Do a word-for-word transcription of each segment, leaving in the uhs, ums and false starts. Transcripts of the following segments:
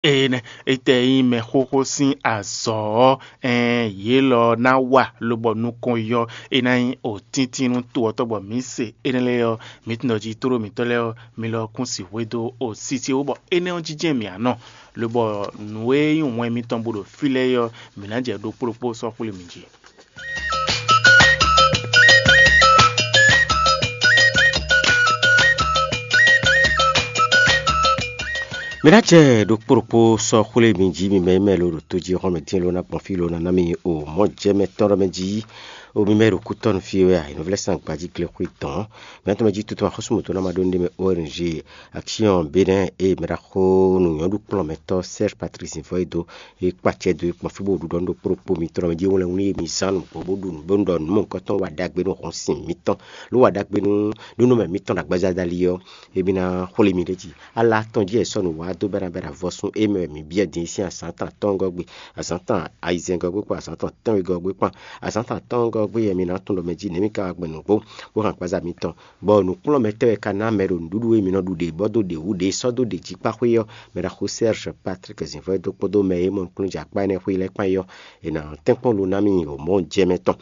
Énɛ́ é tɛ nyí mɛ xóxó sín azɔ̌ ɔ́, ɛɛn, yě lɔ ná wa lobɔ nukɔn yɔ é ná nyí òtíntín nú to ɔ́ tɔn bɔ mǐ se énɛ́ lɛ́ɛ ɔ́, mǐ tunwun ɖɔ jí tlóló mǐtɔn lɛ́ɛ ɔ́, mi lɔ kún sixú e dó o sisi wú bɔ énɛ́ ɔ́ jínjɛ́n mǐ ǎ nɔ, lobɔ nǔ e nyí wɛn mitɔn bo ɖo fí lɛ́ɛ é ɔ́, mǐ ná jɛ ɖokpó ɖokpó sɔ́ xwlé mi jí. Mi ná jɛ ɖokpó ɖokpó sɔ́ xwlé mi jí, mi mɛ e mɛ lo ɖo tó jí xɔ́mɛ dín lo ná gbɔn fí lo ná ná mi o mɔ̌ jɛ mɛ tɔn ɖɔ mɛ jí, o mi mɛ ɖo kútɔ́nu fí wɛ a, è nɔ vlɛ́ sín agbají glexwé dɔn. Mi ná tɔn mɛ jí tuntun axɔ́súmɔtɔ́ ná ma ɖó ní ɖé mɛ O R G action Bénin e mɛ ɖaxó nǔnyɔ́ɖukplɔ́nmɛtɔ́ Serge Patrice Zinvɔ́ e dó e kpa acɛ dó e kpɔn fí bó ɖuɖɔ nú ɖokpó ɖokpó mitɔn mɛ jí wlɛ́n wlí e mi zán nǔgbó bó ɖu nǔ bó ɖɔ nǔ mɔ̌hunkɔtɔn wa ɖagbe nú hɔn sin mitɔn, ló wa ɖagbe nú nǔnɔmɛ mitɔn ɖo agbaza dali ɔ́, émí ná xwlé mi ɖ'é jí. Ala tɔn jí è sɔ́ nǔ wá dó bɛ́ ná bɛ́ ɖo avɔsún e mɛ wɛ mǐ byɔ́ din sín azǎn tɔn atɔ́ɔ́ngɔ́ gbe, azǎn tɔn ayizɛ́ngɔ́ gbe kpó azǎn tɔn tɛ́nwegɔ́ gbe kpán. Azǎn tɔn atɔ́ɔ́ngɔ́ gbe wɛ mi ná tunwun ɖɔ mɛ jí nɛ̌ mi ka wá gbɛn nǔgbó bó hɛn agbaza mitɔn, bɔ nǔkplɔ́nmɛtɔ́ e ka ná mɛ ɖo nǔɖuɖu e mǐ nɔ ɖu ɖě bɔ dó ɖě wú ɖě sɔ́ dó ɖě jí kpá xwé ɔ́, mɛ ɖaxó Serge Patrick Zǐnvɔ́ e dó kpódó mɛ e mɔ nukúnnú jɛ akpá énɛ́ xwé lɛ́ɛ kpán é ɔ́, è nǎ tɛ́nkpɔ́n lo ná mì wɔ̌mɔ́ jɛ mɛ tɔn.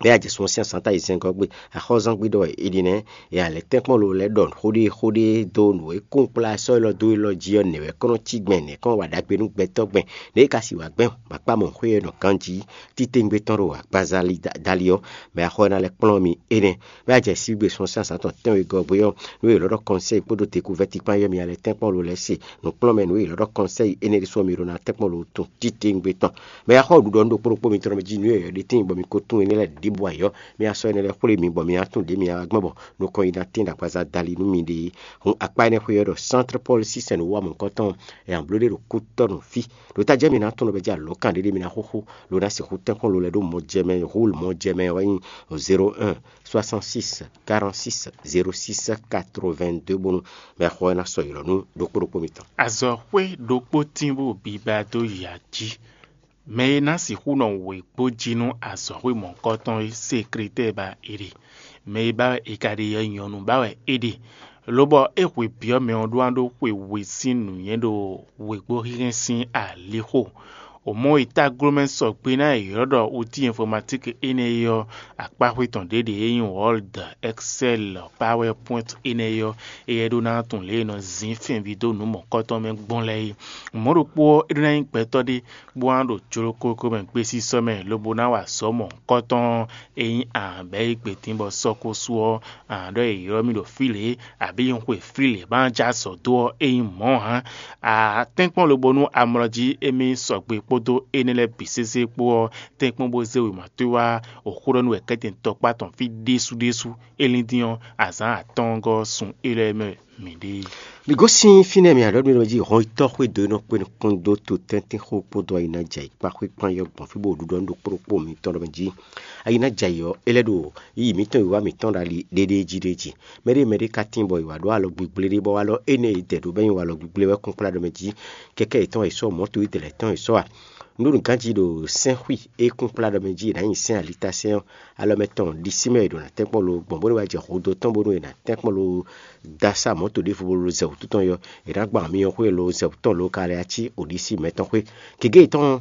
Bɛ́ a jɛ sun ɔ́ sín azǎn ta yi zɛngɔ́ gbe, axɔ́zán gbe ɖɔ è ɖi nɛ́, è a lɛ́ tɛ́nkpɔ́n lo lɛ́ɛ ɖɔ xóɖée xóɖée dó nǔ e kún kplá sɔ́ élɔ́ dó élɔ́ jí ɔ́, nɛ̌ wɛ kɔ́ nɔ cí gbɛn, nɛ̌ kɔ́ nɔ wa ɖagbe nú gbɛtɔ́ gbɛn, nɛ̌ è ka sì wǎ gbɛn bɔ akpá mɔ̌ xwé ɔ́ nɔ ganjí titewungbe tɔn ɖo agbaza dali ɔ́, mɛ axɔ ɔ́ ná lɛ́ kplɔ́n mi énɛ́. Bɛ́ a jɛ sígbé sun ɔ́ sín azǎn tɔn tɛ́nwe gɔ́ gbe ɔ́, nú è lɔ́ ɖɔ kɔnsɛ́yi kpódó dekuvɛ́ti kpán yɔ́ mi a lɛ tɛ́nkpɔ́n lo lɛ́ɛ se. Nǔkplɔ́nmɛ nǔ e è lɔ́ ɖɔ kɔnsɛ́yi énɛ́ ɖésú ɔ́ mi ɖó ná tɛ́nkpɔ́n lo tun titewungbe tɔn. Mɛ e xɔ ɖuɖɔ nú ɖokpó ɖokpó mitɔn mɛ jí nǔ e yɔ̌yɔ́ ɖe tíin bɔ mi ko tunwun énɛ́ lɛ́ɛ ɖěbǔ ayɔ́, mi asɔ énɛ́ lɛ́ɛ xwlé mi bɔ mi ná tunwun ɖě mi ná gbɔn bɔ nukɔn yi ná tín ɖo agbaza dali nú mi ɖe. Hun akpá énɛ́ xwé ɔ́ ɖɔ Centre Paul sísɛn nǔ wa mɔ̌hunkɔtɔn, è nǎ bló ɖe ɖo kútɔ́ nǔ fí. Ɖo ta jɛ mi ná tunwun ɖɔ bɛ jɛ alɔ̌kan ɖé ɖé mi ná xóxó, lo ná sixú tɛ́nkpɔ́n lo lɛ́ɛ ɖó mɔ jɛ mɛ, hú mɔ jɛ mɛ wɛ nyí zéro un soixante-six quarante-six zéro six quatre-vingt-deux bónú mɛ xɔ ɛ ná sɔ́ yi lɔ nú ɖokpó ɖokpó mitɔn. Azɔ̌xwé ɖokpó tín bó biba dó ya jí. Mɛ e ná sixú nɔ wěgbó jí nú azɔ̌xwé mɔ̌hunkɔtɔn é, sekretɛ́ɛ ba è ɖe. Mɛ e ba wɛ è ka ɖe ɔ́, nyɔ̌nu ba wɛ é ɖe. Lobɔ é hwe byɔ́ mɛ ɔ́ ɖó ná ɖó xwe we sín nǔnywɛ́ ɖo wěgbó hínhɛ́n sín alixo. Omɔ̌ e taglomɛ sɔgbe ná è ylɔ́ ɖɔ outil informatique énɛ́ é ɔ́, akpáxwé tɔn ɖě ɖě e nyí Word, Excel, PowerPoint énɛ́ é ɔ́, éyɛ́ ɖó ná tunwun lě e è nɔ zǐn fɛnví dó nǔ mɔ̌kɔtɔn mɛ gbɔn lɛ́ɛ é. Mɔ̌ ɖokpó ɔ́, é ɖó ná nyí gbɛtɔ́ ɖé bó ná ɖo jlokókó mɛ gbesisɔ mɛ, lobo ná wa azɔ̌ mɔ̌hunkɔtɔn e nyí ǎ bɛ́ yí gbe dín bɔ sɔ́ ko sú ɔ́, ǎ ɖɔ è ylɔ́ mì ɖo fí lě, abǐ un xwe fí lě bó ná jɛ azɔ̌ dó ɔ́, é nyí mɔ̌ ǎ. Atɛ́nkpɔ́n lobo nú amlɔ jí émí sɔgbe kpódó énɛ́ lɛ́ɛ bǐ sésé kpó ɔ́, tɛ́nkpɔ́n bó zé wěma towe wá oxó ɖɔ nú wɛ kɛ́tɛn tɔkpá tɔn fí ɖésú ɖésú. É lín dín ɔ́, azǎn atɔ́ɔ́ngɔ́ sun é lɛ́ɛ mɛ mǐ ɖe. Mi gosín fínɛ́ mi aɖɔ̌ mi ɖɔ jí hɔn yitɔ́ xwé dó e nɔ kpé nukún dó to tɛ́ntin xó kpódó ayi ná jɛ ayǐkpá xwé kpán yɔ gbɔn fí bó ɖuɖɔ nú ɖokpó ɖokpó mitɔn ɖɔ mɛ jí. Ayi ná jɛ ayǐ ɔ́, é lɛ́ ɖo yiyi mǐtɔn wǐwá mǐtɔn ɖo ali ɖéɖéé jí ɖé jí. Mɛɖé mɛɖé ka tín bɔ è wǎ ɖó alɔ gbigblé ɖé bɔ wá lɔ énɛ́ e dɛ ɖǒ bɛ́ nyi walɔ gbigblé wɛ kún kplá ɖɔ mɛ jí. Kɛkɛ́ yětɔn e sɔ́ mɔ̌to idɛlɛ tɔn e sɔ́ a? Un ɖó nǔ ganjí ɖo sɛ́nxwí e kún kplá ɖɔ mɛ jí è nǎ nyi sɛ́n alitasɛ́n ɔ́, alɔ mɛ tɔn ɖisí mɛ è ɖo ná tɛ́nkpɔ́n lo gbɔn bó ní wá jɛ xodó tɔn bónú è nǎ tɛ́nkpɔ́n lo dó asá mɔ̌to ɖěvo bó lo zɛ wǔtu tɔn yɔ, è nǎ gban myɔ xwé lo zɛ wǔtu tɔn lo ka lɛ cí oɖisí mɛtɔn xwé. Gěgé yětɔn ɔ́,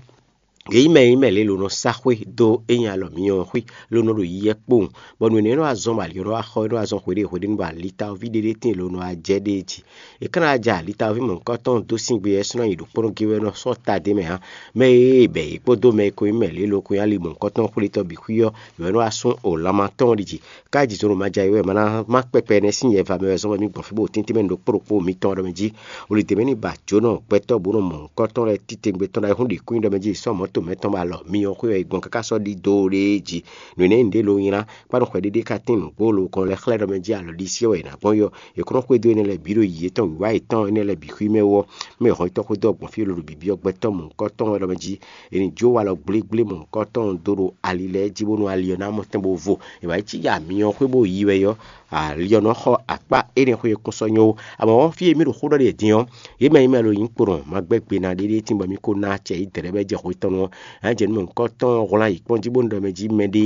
yě nyí mɛ e nyí mɛ lě lo nɔ sá xwé dó é nyí alɔ myɔ ɔ́ xwé lo nɔ ɖo yiyɛ kpowun, bɔ nǔ énɛ́ nɔ wá zɔ́n bɔ ali ɔ́ nɔ wá xɔ é nɔ wá zɔ́n xweɖée hweɖénu bɔ alitaví ɖé ɖé tíin lo nɔ wá jɛ ɖ'é jí. È ka ná ja alitaví mɔ̌hunkɔtɔn dó sín gbe ɔ́, é sɔ́ ná yi ɖo kplɔ́n gé wɛ nɔ sɔ́ ta d'é mɛ ǎ. Mɛ e bɛ yě kpódó mɛ e ko nyí mɛ lě lo ko nyí ali mɔ̌hunkɔtɔn xwlétɔ́ bǐ xwí ɔ́, yě wɛ nɔ wá sú o lanma tɔn ɔ́ ɖi jí. Kájí zɔn ɖo ma ja é wɛ ma ná má kpɛkpɛ énɛ́ sín nyɛ va mɛ wɛ zɔ́n bɔ mì gbɔn fí bó tíntín mɛ ɖo kpó ɖokpó mitɔn ɖɔ mɛ jí. Wlidě mɛ ní ba jǒnɔ gbɛtɔ́ bó nɔ mɔ̌hunkɔtɔn lɛ́ɛ títewungbe tɔn ɖo ayǐhún ɖi kún nyi ɖɔ mɛ jí sɔ́ mɔ̌ to mɛtɔn bɔ alɔ myɔ xwé ɔ́ yi gbɔn káká sɔ́ ɖidó ɖé jí. Nǔ énɛ́ nyí nǔɖé lo nylá, kpáɖo xwɛ ɖéɖé ka tín nǔgbó lo kɔn lɛ́ xlɛ́ ɖɔ mɛ jí alɔ ɖisí ɔ́ wɛ è nǎ gbɔn yɔ. È kó nɔ xwedó énɛ́ lɛ́ɛ bǐ ɖo yǐ yětɔn wǐwá yětɔn énɛ́ lɛ́ɛ bǐ xwí mɛ wú ɔ́, mɛ hɔn yítɔ́ xwedó ɔ́ gbɔn fí e lo ɖo bǐbyɔ́ gbɛtɔ́ mɔ̌hunkɔtɔn wɛ ɖɔ mɛ jí. È nǐ jó walɔ gblégblé mɔ̌hunkɔtɔn dó ɖo ali lɛ́ɛ jí bónú ali ɔ́ ná mɔ tɛn bó vo. È wǎ yi cí ya myɔ xwé bó yi wɛ yɔ, ali ɔ́ nɔ xɔ akpá énɛ́ xwé e kún sɔ́ nyɔ́ ó. Amɔ̌ fí e mì ɖo xó ɖɔ ɖe din ɔ́, yě mɛ e mɛ lo nyǐ kpo nɔ ma gbɛ́ gbe ná ɖéɖé tín bɔ mì ko ná acɛ yi dɛ̌ɖɛ́ bɛ jɛ xwetɔn nu ɔ́, ná jɛ nú mɔ̌hunkɔtɔn hwlán yi kpɔ́n jí bónú ɖɔ mɛ jí mɛɖé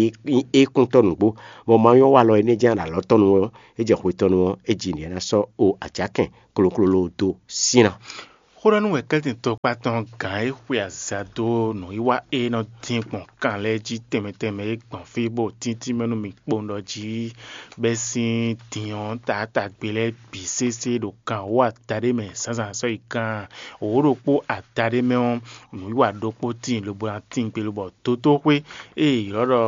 é kún tɔ́ nǔgbó, bɔ ma nyɔ́ walɔ énɛ́ jɛ́n ɖo alɔ tɔn nu ɔ́, é jɛ xwetɔn nu ɔ́, é ji nǔ e ná sɔ́ o ajakɛn kloklo lo dó sín ná. Xó ɖɔ nú wɛ̌kɛ́tɛn tɔkpá tɔn gǎn e xwe azǎn dó nǔwiwa e nɔ dín gbɔn kan lɛ́ɛ jí tɛnmɛ tɛnmɛ é gbɔn fí bó tíntín mɛ nú mi kpowun ɖɔ jí, bɛ́ sín din ɔ́ taatagbe lɛ́ɛ bǐ sésé ɖo kan wǒ adaɖé mɛ zǎnzǎn sɔ́ yi kan wǒ ɖokpó adaɖé mɛ ɔ́, nǔwiwa ɖokpó tíin lobo ná tíin gbe lobɔ dotóxwé e è ylɔ́ ɖɔ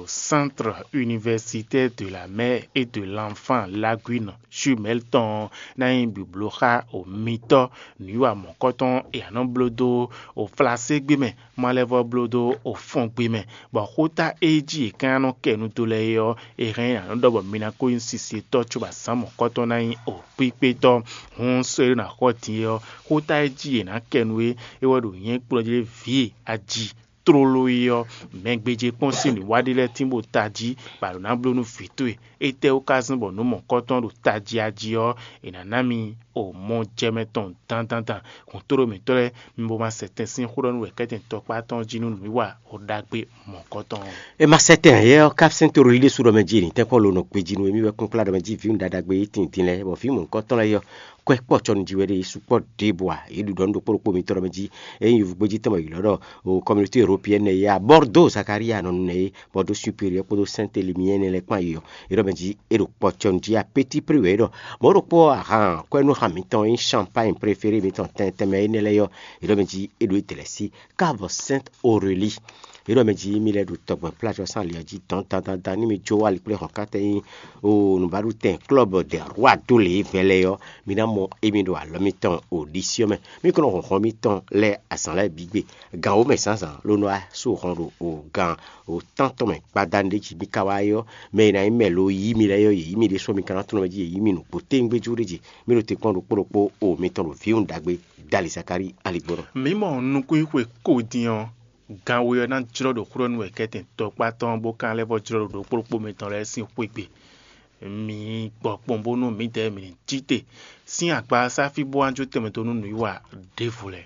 Centre Universitaire de la Mère et de l'Enfant Laguine Jumelle tɔn ɔ́ ná nyí blǒbló xá o mitɔ́ nǔwiwa mɔ̌kɔtɔn e a nɔ bló dó o flaségbé mɛ, malɛvɔ bló dó o fɔngbe mɛ, bɔ xóta e jí è ka nɔ kɛ nu dó lɛ́ɛ é ɔ́, è hɛn a nɔ ɖɔ bɔ mi ná ko nyí sisetɔ́ cóbɔ azǎn mɔ̌kɔtɔn ná nyí o kpíkpétɔ́. Hǔn sɔ́ e ɖó ná xɔ din é ɔ́, xóta e jí è nǎ kɛ nu é, é wɛ ɖo nyɛ̌ kplɔ́ jí ɖé vǐ e aji tlóló é ɔ́, mɛ gbéjé kpɔ́n sín nǔwiwa ɖé lɛ́ɛ tín bó tají, bɔ a ɖǒ ná bló nú vǐ towe. Étɛ́wú ka zɔ́n bɔ nǔ mɔ̌kɔtɔn ɖo tají ají ɔ́, è nǎ ná mi o mɔ jɛ mɛ tɔn dandandan. Hǔn tóɖó mǐtɔn lɛ́ɛ, mi bo ma sɛ tɛn sín xó ɖɔ nú wɛ̌kɛ́tɛn tɔkpá tɔn jí nú nǔwiwa o ɖagbe mɔ̌kɔtɔn ɔ́. E ma sɛ tɛn yɛ ɔ́, kapsɛn to ɖo líɖé su ɖɔ mɛ jí, nǐ tɛ́nkpɔ́n lo nɔ gbejí nú émí wɛ kúnkplá ɖɔ mɛ jí vǐwun ɖaɖagbe e tíin din lɛ́ɛ, bɔ vǐ mɔ̌hunkɔtɔn lɛ́ɛ yɔ kwɛ́ kpɔ́ cɔnu jí wɛ ɖe yě sukpɔ́ ɖěbǔ ǎ. Yě ɖu ɖɔ nú ɖokpó ɖokpó mitɔn ɖɔ mɛ jí, ényí yovugbejí tɔn mɛ ylɔ́ ɖɔ o communauté européenne ya Bordeaux Zakaria nɔ nu nɛ é, Bordeaux supérieur kpódó Sainte Lumière lɛ́ɛ kpán yi ɔ́, é ɖɔ mɛ jí é ɖo kpɔ́ cɔnu jí à petit prix wɛ é ɖɔ. Mɔ̌ ɖokpó ahan kwɛ́ nú xá mitɔn e nyí champagne préféré mitɔn tɛntɛn mɛ énɛ́ lɛ́ɛ yɔ, é ɖɔ mɛ jí é ɖo é dlɛ̌ sí Cave Sainte Aurélie. É ɖɔ mɛ jí mi lɛ́ ɖo tɔgbɛn plajɔ sín ali ɔ́ jí dɔn dandandan ní mi jó wá ali kplé hɔn kátɛ nyí o nǔbaɖutɛn club de roi do lě vɛlɛ ɔ́, mi ná mɔ émí ɖo alɔ mitɔn o ɖisí ɔ́ mɛ. Mi kɔn nɔ hɔn hɔn mitɔn lɛ́ɛ azǎn lɛ́ɛ bǐ gbe. Gan wǒ mɛ zǎnzǎn ló nɔ wá sú hɔn ɖo o gan o tántɔn mɛ gbadanu ɖé jí mi ka wá é ɔ́, mɛ e ná nyí mɛ lo yí mi lɛ́ɛ ɔ́, yě yí mi ɖésú mi ka ná tlɔ́n mɛ jí yě yí mi nǔgbó téwúngbéjú ɖé jí. Mi ɖo te kpɔ́n ɖokpó ɖokpó o mitɔn ɖo vǐwun ɖagbe Dali Zakalíi aligbɔnɔ. Mǐ mɔ nukúnxwe ko din ɔ́, gan we ɔ́ ná jlɔ́ ɖo xwlɔ́ nú wɛ kɛ́tɛn tɔkpá tɔn bó ka lɛ́ vɔ́ jlɔ́ ɖo ɖokpó ɖokpó mitɔn lɛ́ɛ sín xwé gbe. Mi gbɔ kpɔn bónú mǐdɛɛ mǐ ní cí te sín agba sáfí bó wá jó tɛnmɛ dó nú nǔwiwa ɖěvo lɛ́ɛ.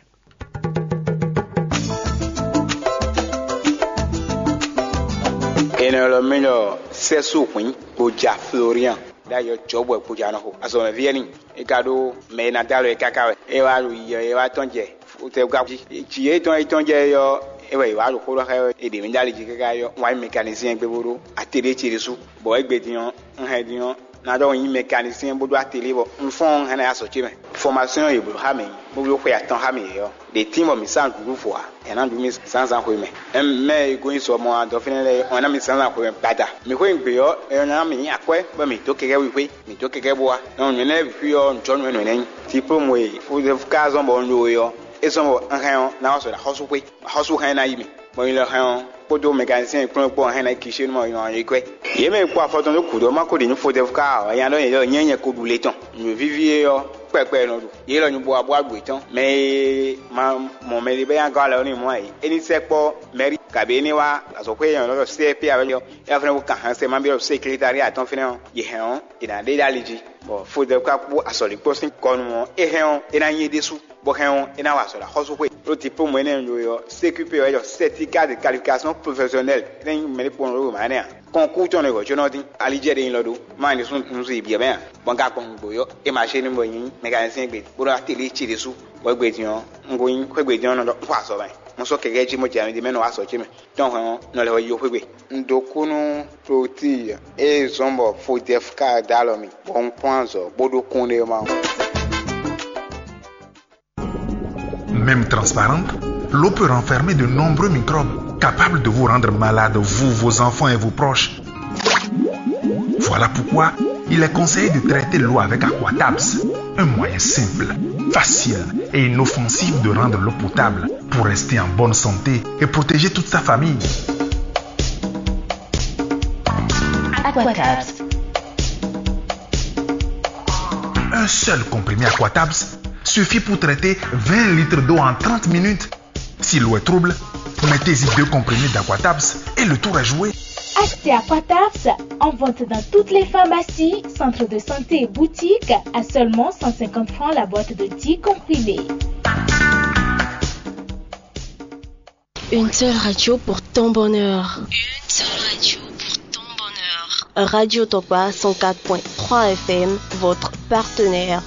È nɔ ylɔ́ mì ɖɔ Sɛ́sú Hwǐn Gboja Florian ɖ'ayǐ ɔ́, Jɔ̌bwɛ Gboja nɔ xo azɔ̌mɛví wɛ n'i. É ka ɖó mɛ e ná dó alɔ ɛ káká wɛ. É wá ɖo yiyi ɔ́, é wá tɔ́n jɛ fútɛ́gá jí. Jǐ e tɔn e tɔ́n jɛ é ɔ́, é wɛ è wá ɖo xó ɖɔ xá ɛ wɛ. È ɖě mì ɖó ali jí káká é ɔ́, un wá nyí mɛkanisíɛn gbe bó ɖó atelier ce ɖésú. Bɔ é gbe din ɔ́, un hɛn din ɔ́, ná ɖɔ un nyí mɛkanisíɛn bó ɖó atelier bɔ un fɔ́n ɔ́, un hɛn ná yi azɔ̌ ce mɛ. Fɔmasyɔn e yě bló xá mǐ, bó bló xwe atɔn xá mǐ é ɔ́, ɖě tín bɔ mǐ sa nǔɖuɖu vo ǎ, è nǎ ɖu mì zǎnzǎn xwé mɛ. Mɛ e gosín sɔ mɔ adɔ fínɛ́ lɛ́ɛ ɔ́ ná mì zǎnzǎn xwé mɛ gbada. Mǐ xwé gbe ɔ́, é ná mǐ nyi akwɛ́ bɔ mǐ dó kɛkɛ́ wíxwé, mǐ dó kɛkɛ́ bó wá. Nɔ nǔ énɛ́ lɛ́ɛ bǐ xwí ɔ́, un jɔ nǔ énɛ́ nɛ́ nyi. Diplôme e Fodɛfu ka zɔ́n bɔ un ɖo é ɔ́, é zɔ́n bɔ un hɛn ɔ́, ná wá sɔ ɖo axɔ́súxwé. Axɔ́sú hɛn ná yi mì. Bɔ nyi lɔ hɛn ɔ́, kpódó mɛkanisíɛn kplɔ́n kpó hɛn ná yi Kishénu mɔ yɔ yí kwɛ́. Yě mɛ e kpó afɔ tɔn dó gǔdo ɔ́ ma ko ɖi nǔ Fodɛfu ka ǎ, nya ɖɔ nyɛ ɖɔ nyɛ nyɛ ko ɖu le tɔn. Nǔ víví é ɔ́, kpɛkpɛ nɔ ɖu. Yě lɔ nyi bó wá bó wá ɖu yětɔn. Mɛ e ma mɔ mɛ ɖé bɛ́ nyi agɔ́ alɛ ɔ́ n'i mɔ ǎ é. É ní sɛkpɔ́ mɛ̌ri, kabǐ é ní wá azɔ̌xwé e nyɔ̌nu ɔ́ ɖɔ C P ǎ wɛ ɔ́, é wá fɛ́nɛ wó kan hɛn sɛ ma byɔ́ ɖo sékilitári atɔn fínɛ́ ɔ́, yě hɛn ɔ́, è nǎ ɖe ɖó ali jí. Bɔ Fodɛfu ka kpó azɔ̌líkpɔ́ sín kɔ nu ɔ́, é hɛn ɔ́, é ná nyi é ɖésú, bɔ hɛn ɔ́, é ná wa azɔ̌ ɖo axɔ́súxwé. Ɖó diplôme énɛ́ e un ɖó é ɔ́, C Q P wɛ é ɖɔ certificat de qualification professionnelle, é ná nyí mɛ ɖé kpɔ́n ɖó mǎ nɛ́ ǎ. Kɔnkú tɔn ɖo hwɛ̌ có nɔ dín, ali jɛ ɖe nyi lɔ ɖó, má nyí ɖésú un zun yi biɛ mɛ ǎ. Bɔ un ka gbɔn nǔgbó yɔ, é ma ṣe nú bɔ nyí mécanicien gbe, bó ɖɔ atelier ce ɖésú, bɔ égbé din ɔ́, un ko nyí xwé gbe din ɔ́ nɔ ɖɔ un xɔ azɔ̌ mɛ. Un sɔ́ kɛkɛ́ jí mɔ jɛ mɛ ɖé mɛ nɔ wá azɔ̌ ce mɛ. Tɔn hwɛ̌ ɔ́, nɔ lɛ wɛ yi xwé gbe. Un dó kú nú Klotile e zɔ́n bɔ Fodɛfu ka dó alɔ mì, bɔ un kplɔ́n azɔ̌ bó ɖó kúnɖéma ɔ́. Même transparente, l'eau peut renfermer de nombreux microbes capables de vous rendre malade, vous, vos enfants et vos proches. Voilà pourquoi il est conseillé de traiter l'eau avec Aquatabs, un moyen simple, facile et inoffensif de rendre l'eau potable pour rester en bonne santé et protéger toute sa famille. Aquatabs. Un seul comprimé Aquatabs suffit pour traiter vingt litres d'eau en trente minutes. Si l'eau est trouble, mettez-y deux comprimés d'Aquatabs et le tour est joué. Achetez Aquatabs en vente dans toutes les pharmacies, centres de santé et boutiques à seulement cent cinquante francs la boîte de dix comprimés. Une seule radio pour ton bonheur. Une seule radio pour ton bonheur. Radio Tokpa cent quatre point trois F M, votre partenaire.